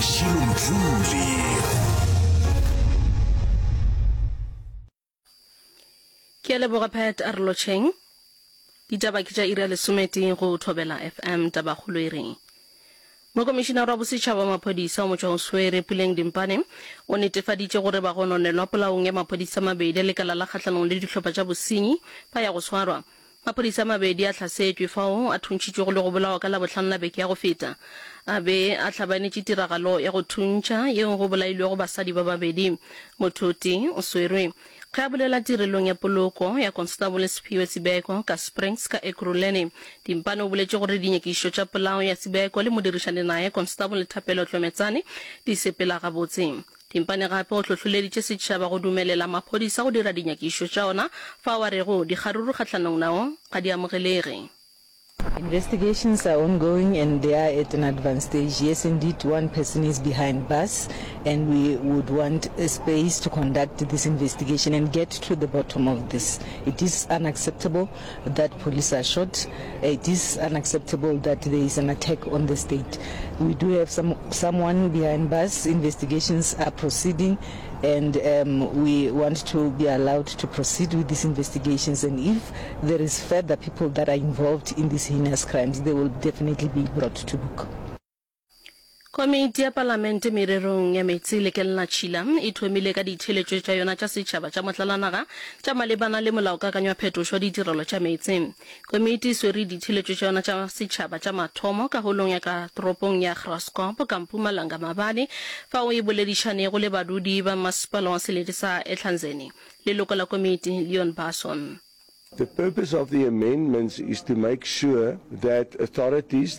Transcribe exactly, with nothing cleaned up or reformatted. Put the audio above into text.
Mashilo Mdluli. Ke a leboga Pat a re lotšheng. Ditaba ke tša iri ya lesometee go Thobela FM. Tabakgolo e re Mokomišinara wa Bosetšhaba wa Maphodisa wa Motšwaoswere, Puleng Dimpane, o netefaditše gore bagononelwa polaong ya maphodisa a mabedi a lekala la kgahlanong le dihlopha tša bosenyi ba ya go swarwa. Maphodisa a mabedi a hlasetšwe fao a thuntšhitšwego le go bolawa ka Labohlano la beke ya go feta. A be a hlabanetše tiragalo ya go thuntšha yeo go bolailwego basadi ba babedi. Motho o tee o swerwe. Ge a bolela tirelong ya poloko ya Konstabole Siphiwe Sibeko ka Springs ka Ekurhuleni, Dimpane o boletše gore dinyakišišo tša polao ya Sibeko le modirišani naye Konstabole Thapelo Tlometsane di sepela gabotse. Dimpane gape o hlohloleditše setšhaba go dumelela maphodisa go dira dinyakišišo tša ona fao a rego dikgaruru kgahlanong nao ga di amogelege. Investigations are ongoing and they are at an advanced stage. Yes, indeed, one person is behind bars and we would want a space to conduct this investigation and get to the bottom of this. It is unacceptable that police are shot. It is unacceptable that there is an attack on the state. We do have some, someone behind bars. Investigations are proceeding and um, we want to be allowed to proceed with these investigations and if there is further people that are involved in these heinous crimes, they will definitely be brought to book. Komiti ya Palamente Mererong ya Meetse le Kelelatšhila e thomile ka ditheeletšo tša yona tša setšhaba tša motlalanaga tša malebana le Molaokakanywa Phetošo wa Ditirelo tša Meetse. Komiti e swere ditheeletšo tša yona tša setšhaba tša mathomo ka holong ya ka toropong ya Graskop ka Mpumalanga maabane fao e boledišanego le badudi ba masepala wa selete sa Ehlanzeni. Leloko la komiti, Leon Basson. The purpose of the amendments is to make sure that authorities